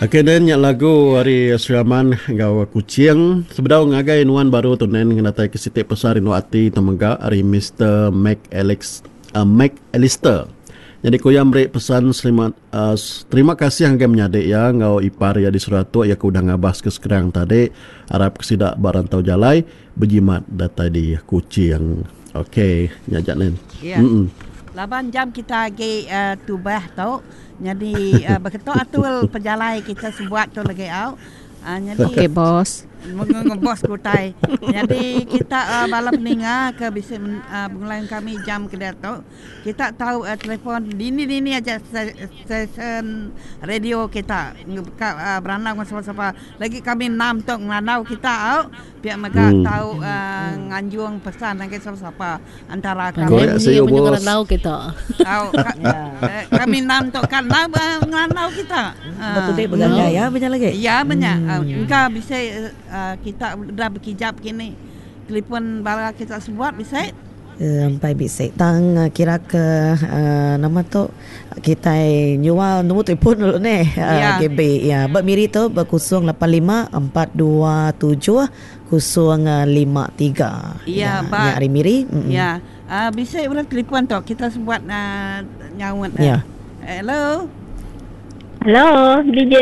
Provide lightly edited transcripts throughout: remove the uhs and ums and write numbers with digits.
Okey nen nya lagu ari Sri Aman enggau Kuching. Sebedau ngagai nuan baru tu nen ngenatai ke siti pesan rindu ati tu mega ari Mister Mac Alex uh, Mac Alister. Nyadi ku iya meri pesan selamat uh, terima kasih ngagai menyadi iya enggau ipar iya di Seratuk iya ke udah ngabas ke Skrang tadi. Arap ke sida ba rantau jalai bejimat datai di Kuching. Okey, nya aja nen. Ya. Mm Laban jam kita agi uh, tubah tu nyadi uh, beketu atul pejalai kita sebuat tu lagi au. Uh, nyadi Okey bos. Bos kutai. Nyadi kita uh, bala peninga ke bisi uh, bengulai kami jam ke diatu. Kita tau telefon dini-dini aja stesen radio kita ka berandau enggau sapa-sapa. Lagi kami enam tu ngerandau kita au pia mega tau nganjung pesan ngagai sapa-sapa antara kami. Korek siu bos. Au kami enam tu kan ngerandau kita. Betul ti begagai ya menya lagi. Ya menya engka bisi kita udah bekijap kini telefon bala kita sebuat bisi. Empai bisi tang kira ke nama tu kitai nyual nombor telefon dulu neh GB iya ba Miri tu ba 085427 053 iya nya ari Miri. Iya bisi orang telefon tu kita sebuat nyaut hello. Hello DJ.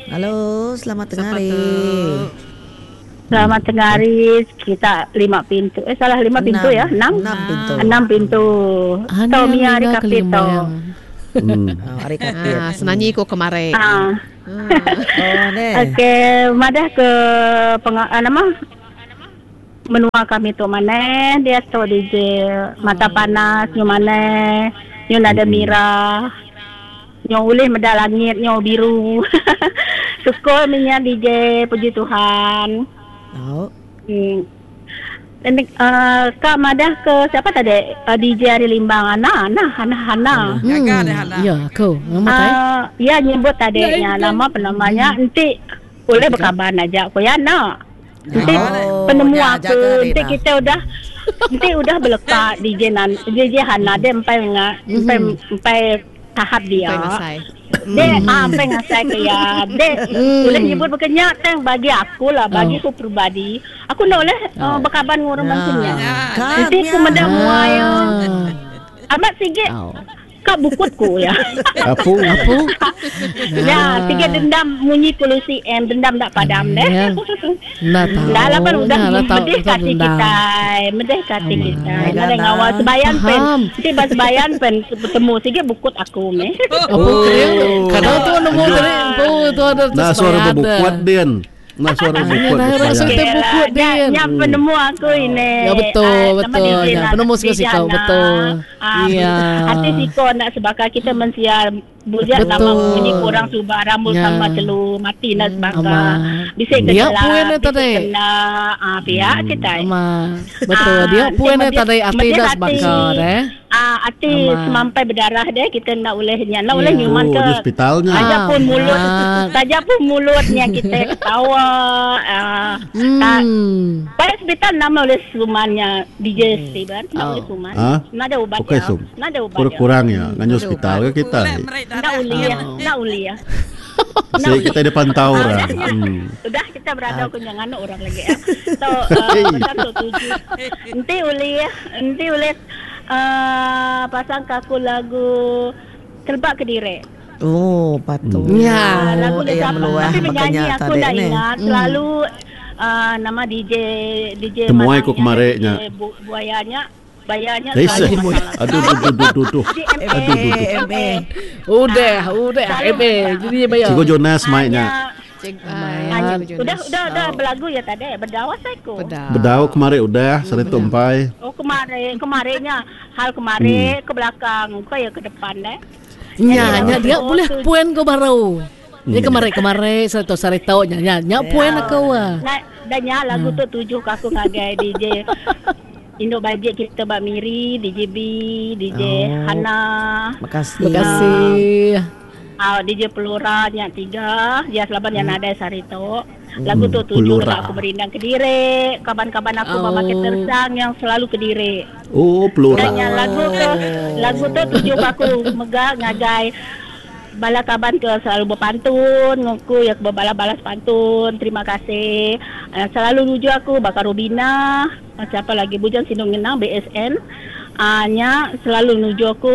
Halo, selamat tengah hari. Selamat tengah hari. Kita lima pintu. Eh salah lima pintu ya. Enam. Enam pintu. Enam pintu. Anu Tau mia hari kapit tau. Oh, hari kapit. Ah, senanyi ku kemari. Ah. Oh, neh. Okey, madah ke peng, ah, nama menua kami tu maneh dia tu DJ mata panas nyu maneh nyu nada mirah. Nyo ulih meda langit nyo biru. Syukur meh nya DJ puji Tuhan. Tau. Hmm. Uh, ka madah ke siapa tadi uh, DJ ari Limbang Ana Ana Hana Hana. Gaga deh Hana. Ya aku. Nama tai. Uh, ya nyebut tadi nya nama penamanya enti boleh berkaban aja ko ya nak. Enti Oh, penemu nya aku jaga enti Rina. kita udah enti udah beleka DJ nan DJ Hana dia empai nga empai empai tahap dia. Empai ngasai. Dia ah empai ngasai ke iya. Dia ulih nyebut baka nya tang bagi aku lah bagi aku peribadi aku enda ulih uh, bekaban dengan orang bansa nya. Kan Enti aku nya. meda mua iya amat sigi Ka bukut ku iya. Apu. Apu. Ya, tiga dendam munyi ku Lucy M, dendam enda padam deh. Ya. Enda tau. Enda lah pan udah Enda lah tau medih ka tau ati dendam. kitai, medih ka ati kitai. Amat. Nadai ngawa sebayan pen. Faham. Enti ba sebayan pen betemu sigi bukut aku meh. Apu kering tu. Kadang tu nemu tadi empu tu ada Nah suara sebayan bebukut din. Nah suara bukut Nah, besayang. suara Okey bukut lah. Nya, din. nya penemu aku ini. Ya betul, Ah, nama betul. DJ Ya, Nana, penemu DJ siko-siko, Hana. betul. Ah, Ya. Hati siko nak sebaka kita mensia bujak sama Betul. bunyi kurang suba rambut Ya. sama celu mati nak sebaka. Amat. Bisi ke Dia celak, puan dia bisi tadi. kena ah pihak kita. Amat. Betul. Ah, Dia nanti puan dia medih- tadi hati medih dah hati. sebaka deh. Ah, ati Amat. semampai berdarah deh kita nak ulih nya nak ulih Ya. nyuman Oh, ke di hospitalnya. Saja pun mulut Amat. saja pun mulutnya kita ketawa ah, tak Hmm. pada hospital nama oleh sumannya DJ Steven nak oleh suman Ha? nak ada ubat Okey ya sum. nak ada ubat ya Kurang-kurang ya. Nganyu hospital ke kita. Boleh meri nak darah. uli ya nak uli ya Si kita ada pantau orang. Hmm. Udah kita berada aku jangan orang lagi ya. So uh, pasang tu tuju. Enti uli enti uli uh, pasang kaku lagu Telbak Kedire. Oh, patut. Ya. Ah, lagu dia yang siapa? meluah Tapi penyanyi makanya aku tadi tak ni. ingat. Selalu uh, nama DJ DJ Temuai ku Manangnya, kemareknya. DJ Bu, buayanya bayarnya Eh, selalu seh. masalah. Aduh, duh, duh, duh, duh, duh. DMA. Aduh, duh, duh. MA. Udah, udah. Ebe, jadi dia bayar. Cikgu Jonas mic-nya. Cik, Hanya, udah udah udah berlagu ya tadi berdawas aku. Bedau kemarin udah, sari tu empai. Oh kemarin kemarinnya hal kemarin ke belakang kau ya ke depan deh. Nya, nya dia boleh puan kau baru. Dia kemarin kemarin saya tahu saya tahu nya nya nya puan aku ah. Nah, dan nya lagu tu tujuh ke aku ngagai DJ Induk Bajet kita Bak Miri, DJ B, DJ Oh. Hana, Makasih. Terima kasih. ah, DJ Pelura nya tiga, dia selaban yang ada sehari tu. Lagu tu tujuh Pelura. kalau aku berindang ke dire, kaban-kaban aku Oh. oh. tersang yang selalu ke dire. Oh, pelura. Dan yang lagu tu lagu tu tuju ke aku mega ngagai Bala kaban ke selalu bepantun enggau aku iya ke bebalas-balas pantun. Terima kasih. Selalu nuju aku baka Rubina, siapa lagi Bujang Sinu Ngenang BSN nya selalu nuju aku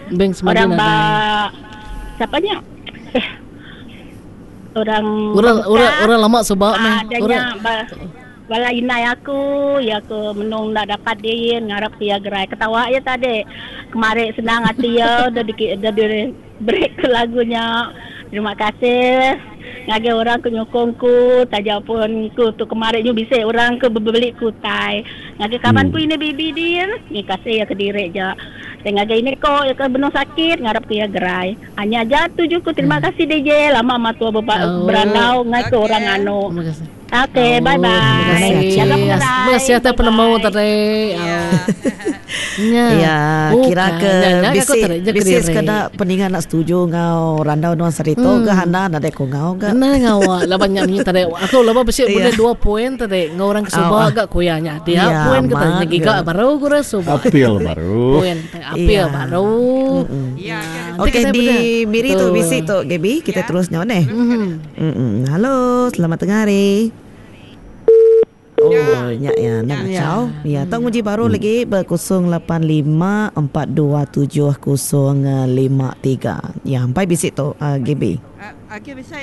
Beng semadi orang ba nadai. siapa nya eh orang Orang orang orang lama suba meh. dah Orang nya ba Bala indai aku, iya ke menung enda dapat din ngarap ke iya gerai. Ketawa iya tadi. Kemari senang ati iya udah diki udah di beri ke lagu nya. Terima kasih ngagai orang ke nyukung ku taja pun ku tu kemari nyu bisi orang ke bebeli ku utai. Ngagai kaban ku ini bibi din, terima kasih iya kediri ja. Tai ngagai ini ko iya ke benung sakit ngarap ke iya gerai. Nya aja tuju ku terima kasih DJ lama matua berandau ngai ke orang anu. Terima kasih. Okey, Oh, bye terima bye. kasih. Jaga Terima pengerai. kasih atas Bye penemu bye. tadi. Ya. Nya. Ya, kira Bukan. ke Nya nya aku bisi tadi nya bisi kediri. sekeda peninga nak setuju enggau randau nuan saritu ke Hana nadai ku enggau ga. Enda ngawa laban nya munyi tadi aku laban bisi Ya. bulih dua poin tadi enggau orang ke Oh, suba ah. ga ku iya nya. Dia Ya, poin ke tadi nya amat giga ga. baru ku orang suba. Apil baru. Poin apil Ya. baru. Ya, Nanti Okey kita di beda. Miri tu Betul. bisi tu Gaby, kita Ya. terus nyawa neh. Mhm. Mm-mm. Halo, selamat tengah hari. Oh, nya ya, nak Ya. kacau. Ya, tau nguji baru lagi ber 085 427 053. Ya, sampai bisi tu uh, GB. Okey bisa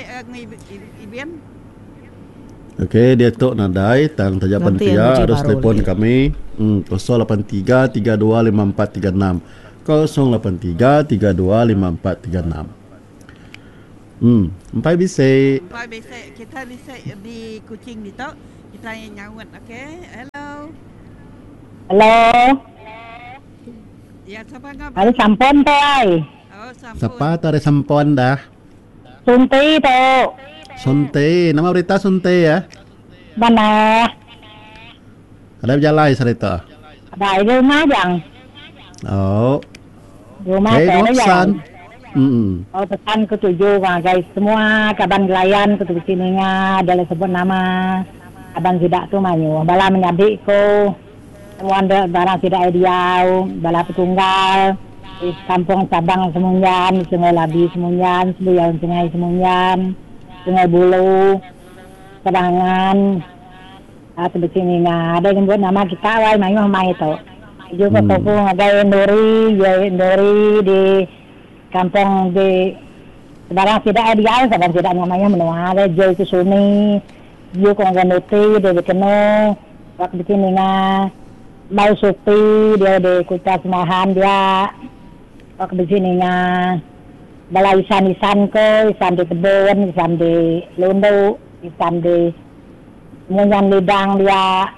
Ibian. Okey, dia tu nadai tang tajapan Nanti yang pia nguji harus baru telefon lagi. kami 083 32 5436. 083 32 5436. Empai bisi. Empai bisi kita bisi di Kuching ditu kita nyaut okey. Hello. Hello. Ya sapa ngau? Ari sampun tu ai. Oh sampun. Sapa tu ada sampun dah? Sunti tu. Sunti, nama berita Sunti ya? Mana? Ada berjalai cerita. Ada di rumah jang. Oh. Di rumah Hey, saya nama jang. pesan. Hmm. Oh, pesan ku tuju ngagai semua kaban gelayan ku tu sini nga dalam sebut nama kaban sidak tu mayu. Bala menyadik ku semua ada barang sidak diau, bala petunggal di kampung cabang Semunyan, Sungai Labi Semunyan, Sebuyan Sungai Semunyan, Sungai Bulu, Sebangan, atau di sini nga ada yang buat nama kita wai mayu mai tu. Juga hmm. ngagai Ndori, ya Ndori di kampung di barang tidak ada dia barang tidak namanya menua ada jauh ke sini jauh ke Nuti dia kena waktu di sini nga mau supi dia di kota Semahan dia waktu di sini nga bala isan-isan ke isan di kebun isan di lundu isan di Munyan lidang dia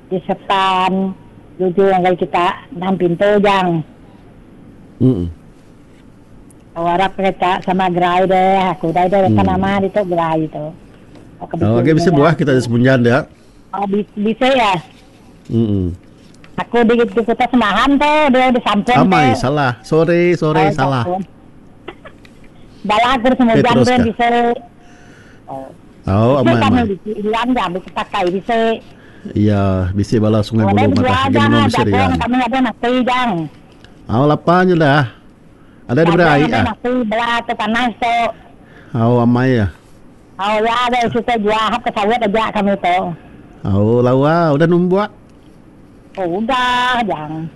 di sepan jujur yang kita enam pintu jang Hmm. Harap kita sama gerai deh, aku dah ada hmm. nama di tu gerai itu. Oh, okey bisa buah kita di Semunjan dia. Oh, bisa ya. Hmm. Aku di, di kota Semahan tu, dia di Sampun Amai, tu. salah. Sorry, sorry, Oh, salah. Sampun. Bala aku Semunjan Eh, tu teruskan. bisa. Oh, Bisa amai, kami amai. di Ilan jam, bisa pakai bisa. Ya, bisi bala Sungai Boleh Bulu jual madah. Lagi jang, minum bisi jagung rian. kami ada nasi jang. Oh, lapan je dah. Ada di Jagung berai ada ah. nasi belah tu panas tu. Oh, amai ya. Oh ya, ada kita jual hap ke sawit aja kami tu. Oh, lawa udah numbuak. Oh, udah jang.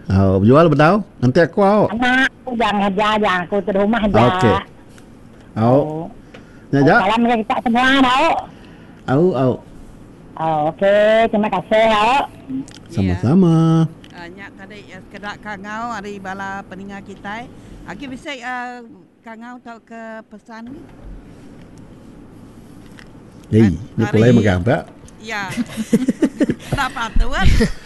Oh, jual bedau. Nanti aku au. Anak aku jangan aja, jangan aku di rumah aja. Okey. Au. Ya, Oh, ja. salam ke kita semua, tau. Au, au. Oh, okey, terima kasih, tau. Sama-sama. Nyak tadi sekedak kangau ari bala peninga kita. Okey bisa kangau tau ke pesan ni? Hei, ni pulai Hari- megang pak. Ya. Tak patut.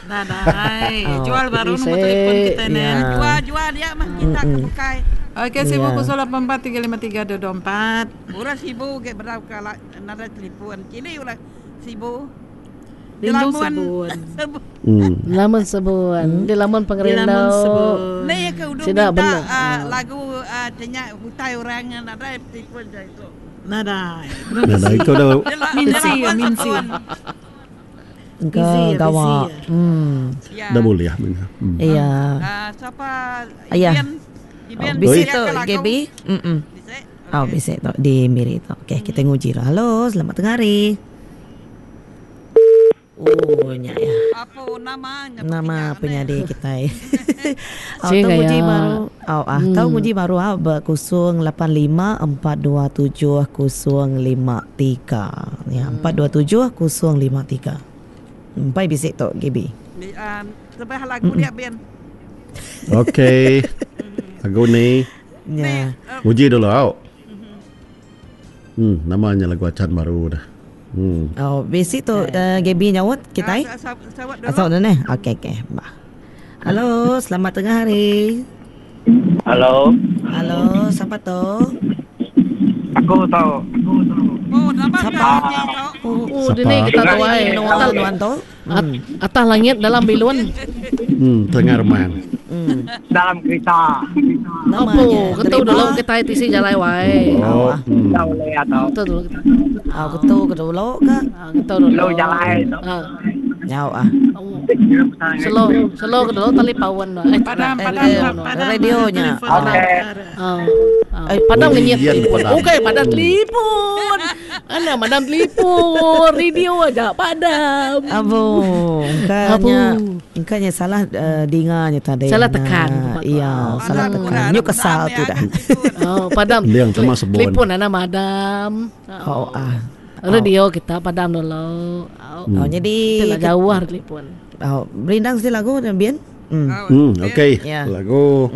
Nadai. Oh, Jual baru bisa. nombor telefon kita Ya. Nen. Jual-jual dia mah kita ke bukai. Okey, sibu Ya. 084 353 224. Murah sibu ke berau kala nada telefon. Kini ulah sibu. Rindu Lamun- sebun. Sebu. Lamun sebuan. Di lamun Di lamun pengerindau. sebun. Ni ke udah Sida minta benar. lagu tanya hutai orang nada telefon je itu. Nadai. Nah, itu dah Minsi ya, minsi. Ke Busy ya, gawa. busy ya. Hmm. Ya. dah boleh ya. Iya. Siapa Ayah. Ian? Oh, bisi tu Gaby. Mm. Oh, bisi tu di Miri tu. Okey, kita nguji lah. Halo, selamat tengah hari. Oh, nya ya. Apa nama nya? Nama penyadi kita. Oh, tau nguji baru. Oh, ah, tau nguji baru ah ba 085427 053. Ya, 427 053. Empai bisi tu Gaby. Lebih lagu dia Ben. Okey. Lagu ni. Ya. Uji dulu au. Hmm, nama nya lagu acan baru dah. Hmm. Oh, bisi tu uh, Gaby nyaut kitai. Asal dulu neh. Okey okey. Bah. Halo, selamat tengah hari. Halo. Halo, siapa tu? Aku tu. Oh, nama Siapa? Oh, dini kita tu ai. Atas nuan tu. Atas langit dalam bilun. Tengah remang. Dalam kereta. Apa? Ketu dulu kita tisi jalai wai. Oh. Tahu le atau. Ketu dulu. Ah, ketu ke dulu ke? Ah, ketu dulu. Lu jalai tu. Ah. Nyau ah. Slow, slow ke dulu tali pawan. Eh, Padam, padam, padam. Radionya. Okey. Ah. Eh, padam ngenyit. Padam. Okey, padam telefon. Ana madam telefon, radio aja padam. Abu, engkanya engkanya salah uh, dinganya tadi. Salah tekan. Iya, salah tekan. Nyu kesal tu dah. Oh, padam. Liang sama sebon. Telefon ana madam. Oh, ah. Radio kita padam dulu. Oh, oh jadi kita jauh hari telefon. Oh, berindang sih lagu dan bien. Hmm, okey. Ya. Lagu.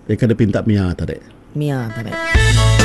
Dia kena pinta Mia tadi. Mia tadi.